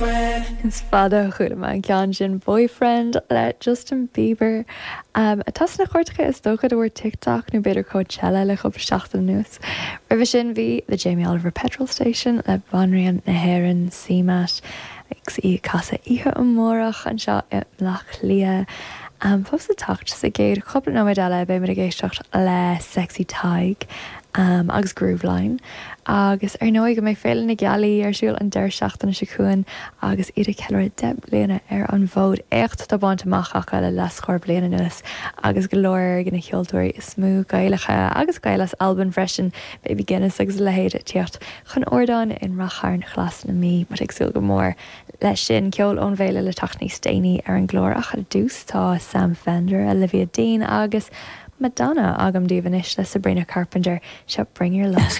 Is fada ó chuala mé an ceann sin Boyfriend le Justin Bieber, atá sna cairteacha is dócha de bharr TikTok nó b'fhéidir Coachella le cúpla seachtain anuas. Roimhe sin bhí The Jamie Oliver Petrol Station le Banríon na hÉireann, CMAT, agus í ag casadh oíche amárach anseo i mBleá Cliath. Fós le teacht sa gcéad chúpla nóiméad eile beimid ag éisteacht le Sexy Tadhg agus Grooveline. Agus ar ndóigh go mbeidh Féile na Gealaí ar siúl an deireadh seachtaine seo chugainn agus iad ag ceiliúradh 10 mbliana ar an bhfód. Éacht atá bainte amach acu le leathscór bliain anuas agus go leor de na ceoltóirí is mó Gaelacha agus Gaeil as Albain freisin, Baby Guinness agus a leithéid ag tíocht chun ardáin in Rath Chairn Ghlas na Mí. Muid ag súil go mór leis sin. Ceol ón bhféile le teacht níos déanaí ar an gclár ach ar dtús tá Sam Fender, Olivia Dean agus Madonna agam daoibh anois le Sabrina Carpenter. Seo Bring Your Love.